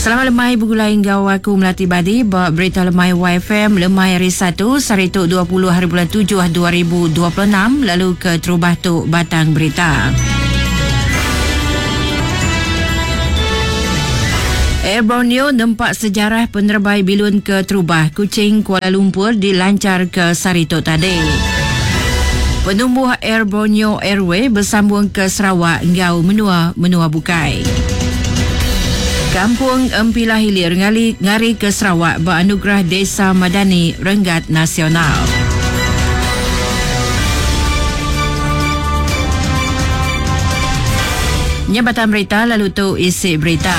Selamat lemai begulai enggau aku Melati Badi ba Berita Lemai YFM lemai hari Satu sehari tu 20 hari bulan 7 2026 lalu ke terubah tu batang berita. Air Borneo nempa sejarah penerebai bilun ke terubah Kuching Kuala Lumpur dilanchar ke sehari tu tadi. Penumbuh Air Borneo Airway besambung ke Sarawak enggau menua-menua bukai. Kampung Empilah Hilir ngali ngari ke Sarawak ba Anugerah Desa Madani Renggat Nasional. Nya batang berita lalu tu isi berita.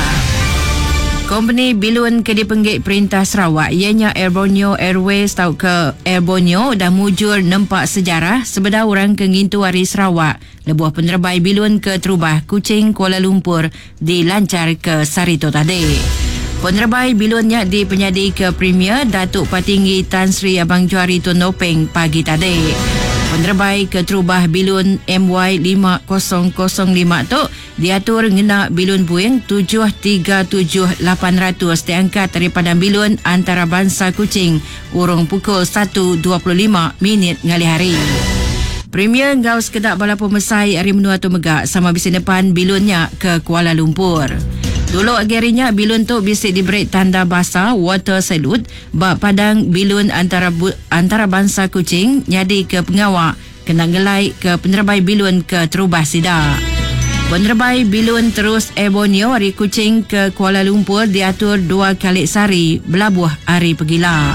Kompeni bilun ke dipenggik Perintah Sarawak iya nya Air Borneo Airways tauka Air Borneo udah mujur nempa sejarah sebedau orang ke ngintu Hari Sarawak lebuh penerebai bilun keterubah Kuching-Kuala Lumpur dilanchar ke sehari tu tadi. Penerebai bilun nya dipenyadika Premier Datuk Patinggi Tan Sri Abang Johari Tun Openg pagi tadi. Penerebai keterubah bilun MY 5005 tu diatur ngena bilun Boeing 737-800 diangkat ari Padang Bilun Antarabansa Kuching urung pukul satu 25 minit ngalih hari. Premier enggau sekeda bala pemesai ari menua tu mega sama bisi nepan bilun nya ke Kuala Lumpur. Dulu agi ari nya bilun tu bisi diberi tanda basa water salute ba Padang Bilun Antara Antarabansa Kuching nyadika pengawa kena ngelai ke penerebai bilun ke terubah sida. Penerebai bilun terus Air Borneo ari Kuching ke Kuala Lumpur diatur dua kali sehari belabuh ari pegila.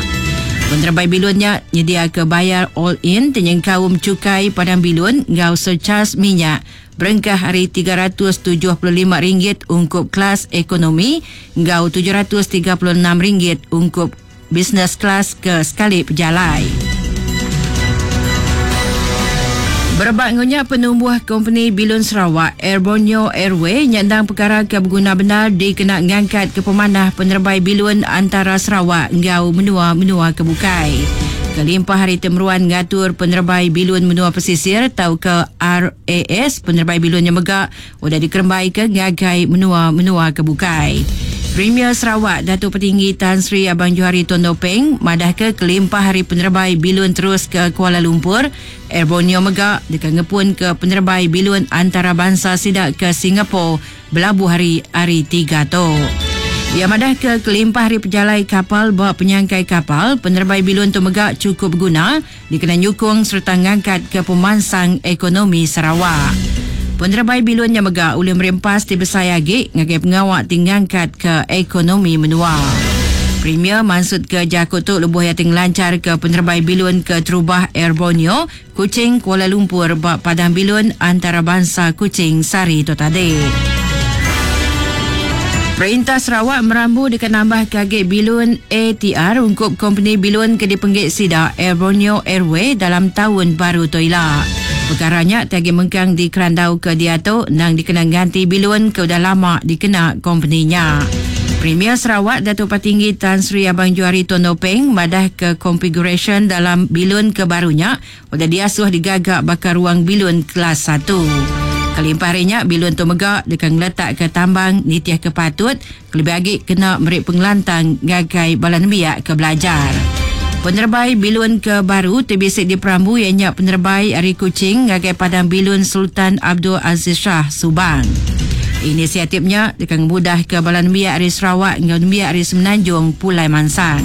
Penerebai bilun nya nyediaka bayar all-in ti nyengkaum chukai padang bilun enggau surcharge minyak berengkah ari RM375 ungkup kelas ekonomi enggau RM736 ungkup business class ke sekali pejalai. Berebak enggau nya, penumbuh kompeni bilun Sarawak, Air Borneo Airway nya endang pekara ke beguna bendar dikena ngangkatka pemanah penerebai bilun antara Sarawak enggau menua-menua ke bukai. Kelimpah ari ti meruan ngatur penerebai bilun menua pesisir tauka RAS, penerebai bilun nya mega udah dikerembaika ngagai menua-menua ke bukai. Premier Sarawak, Datuk Patinggi Tan Sri Abang Johari Tun Openg madahka kelimpah ari penerebai bilun terus ke Kuala Lumpur, Air Borneo mega deka ngepunka penerebai bilun antarabansa sida ke Singapore belabuh ari Hari Tiga tu. Iya madahka kelimpah ari pejalai kapal ba penyangkai kapal, penerebai bilun tu mega chukup beguna dikena nyukung sereta ngangkatka pemansang ekonomi Sarawak. Penerebai bilun nya mega ulih meri empas ti besai agi ngagai pengawa ti ngangkatka ekonomi menua. Premier mansutka jaku tu lebuh iya ti ngelancharka penerebai bilun keterubah Air Borneo Kuching-Kuala Lumpur ba Padang Bilun Antarabansa Kuching sehari tu tadi. Perintah Sarawak merambu deka nambahka agi bilun ATR ungkup kompeni bilun ke dipenggi sida Air Borneo Airway dalam taun baru tu ila. Pekara nya ti agi mengkang dikerandauka diatu endang dikena nganti bilun ke udah lama dikena kompeni nya. Premier Sarawak Datuk Patinggi Tan Sri Abang Johari Tun Openg madahka konfigurasyen dalam bilun ke baru nya udah diasuh digaga baka ruang bilun kelas satu. Kelimpah ari nya, bilun tu mega deka ngeletakka tambang nitihka patut kelebih agi kena meri pengelantang ngagai bala nembiak ke belajar. Penerebai bilun ke baru ti bisi diperambu iya nya penerebai ari Kuching ngagai Padang Bilun Sultan Abdul Aziz Shah, Subang. Inisiatif nya deka ngemudahka bala nembiak ari Sarawak enggau nembiak ari Semenanjung pulai mansang.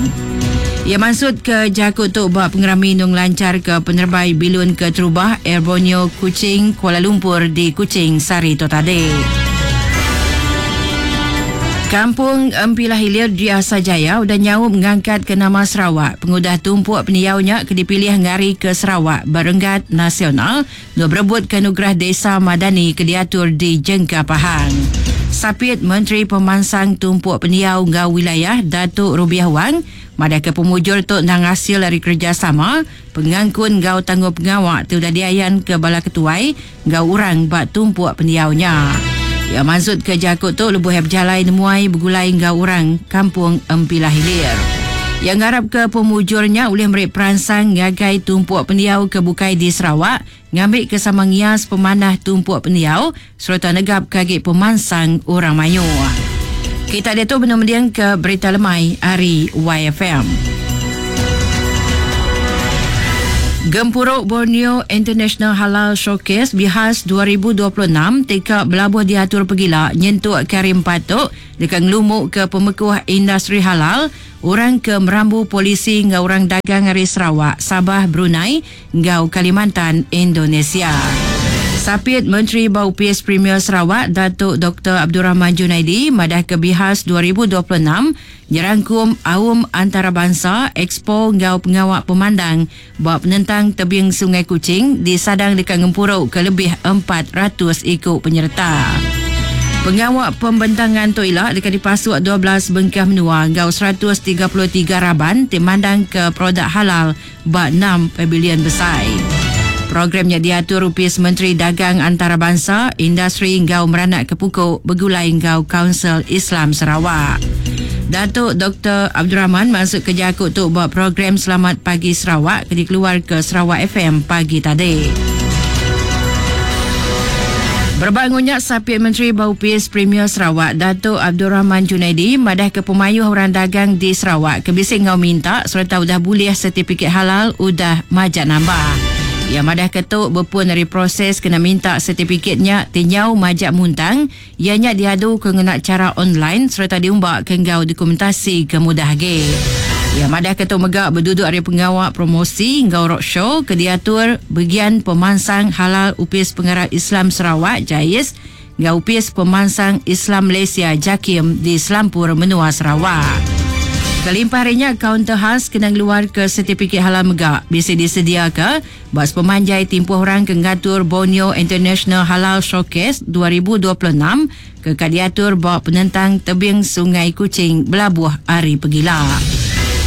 Iya mansutka jaku tu ba pengerami endur ngelancharka penerebai bilun keterubah Air Borneo Kuching, Kuala Lumpur di Kuching sehari tu tadi. Kampung Empilah Hilir di Asajaya udah nyaup ngangkatka nama Sarawak pengudah tumpuk pendiau nya ke dipilih ngarika Sarawak ba renggat nasional enggau berebutka Anugerah Desa Madani ke diatur di Jengka Pahang. Sapit Menteri Pemansang Tumpuk Pendiau enggau Wilayah Datuk Rubiah Wang madahka pemujur tu endang asil ari kerejasama, pengangkun enggau tanggungpengawa ti udah diayanka bala ketuai enggau orang ba tumpuk pendiau nya. Iya mansutka jaku tu lebuh iya bejalai nemuai begulai enggau orang Kampung Empilah Hilir. Iya ngarapka pemujur nya ulih meri peransang ngagai tumpuk pendiau ke bukai di Sarawak ngambika sama ngias pemanah tumpuk pendiau sereta negapka agi pemansang orang mayuh. Kita diatu benung mendingka Berita Lemai ari YFM. Gempuru Borneo International Halal Showcase Bihas 2026 ti ka belabuh diatur pegila nyentuk ke hari Empat tu deka ngelumuka pemekuh industri halal, orang ke merambu polisi enggau orang dagang ari Sarawak, Sabah, Brunei enggau Kalimantan, Indonesia. Sapit Menteri ba Opis Premier Sarawak, Datuk Doktor Abdul Rahman Junaidi madahka Bihas 2026 nyerangkum aum antarabansa, ekspo enggau pengawa pemandang ba penentang tebing Sungai Kuching disadang deka ngempuruka lebih 400 iku penyereta. Pengawa pembentangan tu ila deka dipasuk 12 bengkah menua enggau 133 raban ti mandangka produk halal ba enam pavilion besai. Program nya diatur Opis Menteri Dagang Antarabansa, Industri enggau Meranakka Puku begulai enggau Kaunsil Islam Sarawak. Datuk Doktor Abdul Rahman mansutka jaku tu ba program Selamat Pagi Sarawak ke dikeluarka Sarawak FM pagi tadi. Berebak enggau nya, Sapit Menteri ba Opis Premier Sarawak, Datuk Abdul Rahman Junaidi madahka pemayuh orang dagang di Sarawak ke bisi enggau minta sereta udah bulih setipikit halal udah majak nambah. Iya madahka tu bepun ari proses kena minta setipikit nya ti nyau majak muntang, iya nya diaduka ngena chara online sereta diumbaka enggau dokumentasi ke mudah agi. Iya madahka tu mega beduduk ari pengawa promosi enggau roadshow ke diatur Begian Pemansang Halal Opis Pengarap Islam Sarawak, JAIS, enggau Opis Pemansang Islam Malaysia, JAKIM, di selampur menua Sarawak. Kelimpah ari nya, kaunter khas kena ngeluarka setipikit halal mega bisi disediaka ba sepemanjai timpuh orang ke ngatur Borneo International Halal Showcase 2026 ke ka diatur ba penentang tebing Sungai Kuching belabuh ari pegila.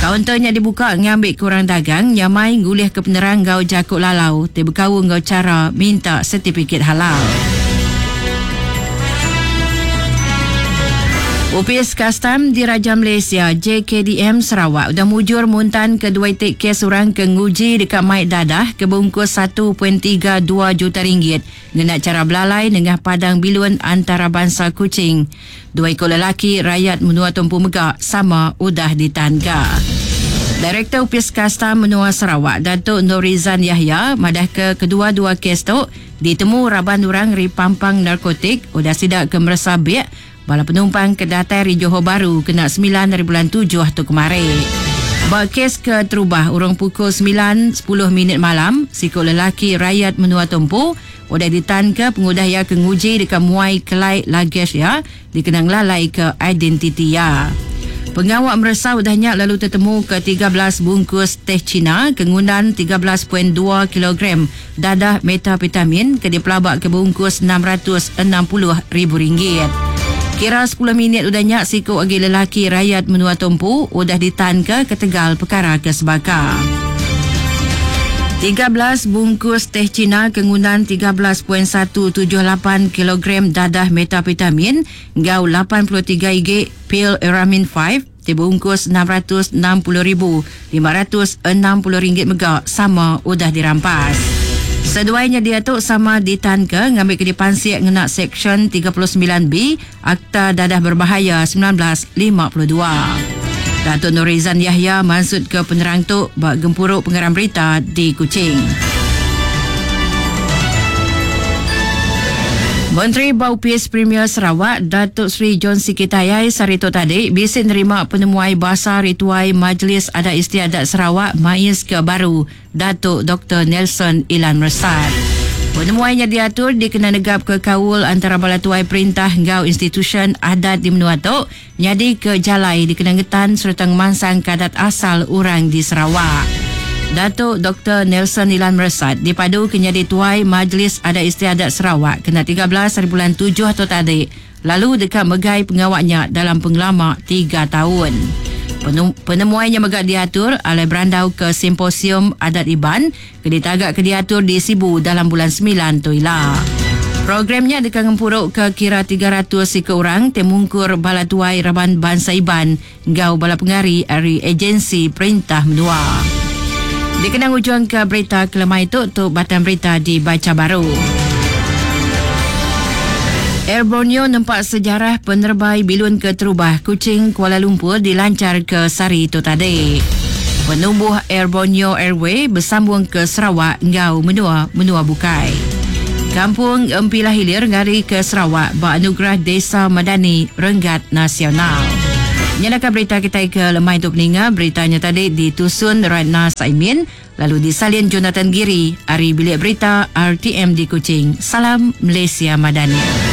Kaunter nya dibuka ngambika orang dagang nyamai ngulihka penerang enggau jaku lalau ti bekaul enggau chara minta setipikit halal. Opis Kastam Diraja Malaysia, JKDM, Sarawak udah mujur muntanka dua iti kes orang ke nguji deka mai dadah ke beungkus 1.32 juta ringgit Ngena chara belalai nengah Padang Bilun Antarabansa Kuching, dua iku lelaki rayat menua tu empu mega sama udah ditanka. Direktor Opis Kastam Menua Sarawak, Datuk Norizan Yahya madahka kedua-dua kes tu ditemu raban orang ari pampang narkotik udah sida ke meresa bik Bala penumpang ke datai ari Johor Bahru kena semilan ari bulan tujuh tu kemari. Ba kes ke terubah urung pukul semilan sepuluh minit malam, siku lelaki rayat menua tu empu udah ditanka pengudah iya ke nguji deka muai kelai luggage iya dikena ngelalaika identiti iya. Pengawa meresa udah nya lalu tetemuka 13 bungkus teh China ke ngundan 13.2 kilogram Dadah metapetamin ke dipelabaka beungkus 660 ribu ringgit. Kira sepuluh minit udah nya siku agi lelaki rayat menua tu empu udah ditanka ketegal pekara ke sebaka. 13 bungkus teh China ke ngundan 13.178 kilogram dadah metapetamin enggau 83 igi pil Eramin 5 ti beungkus 660 ribu 560 ringgit mega sama udah dirampas. Seduai nya diatu sama ditanka ngambika dipansik ngena Seksyen 39B Akta Dadah Berbahaya 1952. Datuk Norizan Yahya mansutka penerang tu ba gempuru pengarang berita di Kuching. Menteri ba Opis Premier Sarawak, Datuk Seri John Sikie Tayai sehari tu tadi bisi nerima penemuai basa ari Tuai Majlis Adat Istiadat Sarawak Mais ke baru Datuk Doktor Nelson Ilan Mersat. Penemuai nya diatur dikena negapka kaul antara bala tuai perintah enggau institusyen adat di menua tu nyadika jalai dikena ngetan sereta ngemansangka adat asal orang di Sarawak. Datuk Doktor Nelson Ilan Mersat dipaduka nyadi Tuai Majlis Adat Istiadat Sarawak kena 13 hari bulan tujuh tu tadi lalu deka megai pengawa nya dalam pengelama tiga taun. Penemuai nya mega diatur alai berandauka Simposium Adat Iban ke ditagaka diatur di Sibu dalam bulan semilan tu ila. Program nya deka ngempuruka kira 300 iku orang ti mungkur bala tuai raban bansa Iban enggau bala pengari ari ejensi perintah menua. Dikena ngujungka berita kelemai tu, tu batang berita dibacha baru. Air Borneo nempa sejarah penerebai bilun keterubah Kuching Kuala Lumpur dilanchar ke sehari tu tadi. Penumbuh Air Borneo Airway besambung ke Sarawak enggau menua-menua bukai. Kampung Empilah Hilir ngari ke Sarawak ba Anugerah Desa Madani Renggat Nasional. Nyadaka berita kitai ke lemai tu peninga, berita nya tadi ditusun Ratna Saimin lalu disalin Jonathan Giri ari Bilik Berita RTM di Kuching. Salam Malaysia Madani.